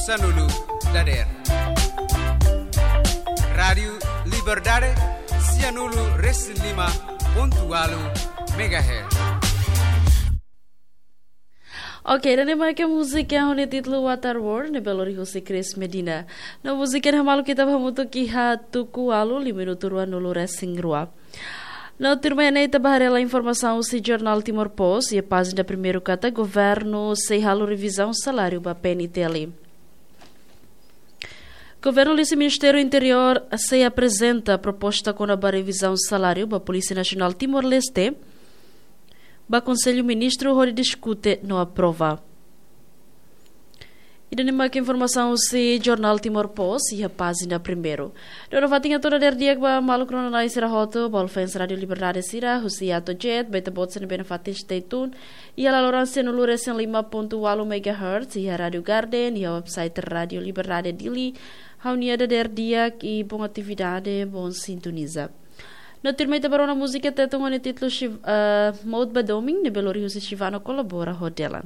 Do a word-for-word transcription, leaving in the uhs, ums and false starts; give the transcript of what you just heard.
Sanulu dader. Rádiu Liberdade, sianulu resin lima pontu walu megahertz. Oke, ida-ne'e mak múzika ho nia títulu Water World, ne'ebé lori husi Chris Medina. No múzika ne'e hamaluk ita ba hamutuk iha tuku ualu lima minutu ruanulu resin rua. No tuirmai ne'e ita ba haree hela informasaun husi jornál Timor Post, iha pájina primeiru katak governu sei halo revizaun saláriu ba P N T L. Governu liuhusi Ministériu Interiór sei aprezenta proposta kona-ba revizaun saláriu ba Polísia Nasionál Timor-Leste ba Konsellu Ministru hodi diskute no aprova. Ida-ne'e mak informasaun husi jornál Timor Post iha pájina primeiru. Dona fatin atu dader di'ak ba maluk rona-na'in sira hotu, ba fans Rádiu Liberdade sira, husi Atojet, ba ita-boot sira ne'ebé nafatin stay tune iha laloran sianulu resin lima pontu walu megahertz, iha Rádiu Garden, iha website Rádiu Liberdade Dili. Ha'u-nia dader di'ak i bom atividade, bom sintoniza. No tuirmai ita ba rona múzika Tetun ho nia títulu Shiv-, eh, Mout ba Domin, ne'ebé lori husi Shivano Kolabora ho Delan.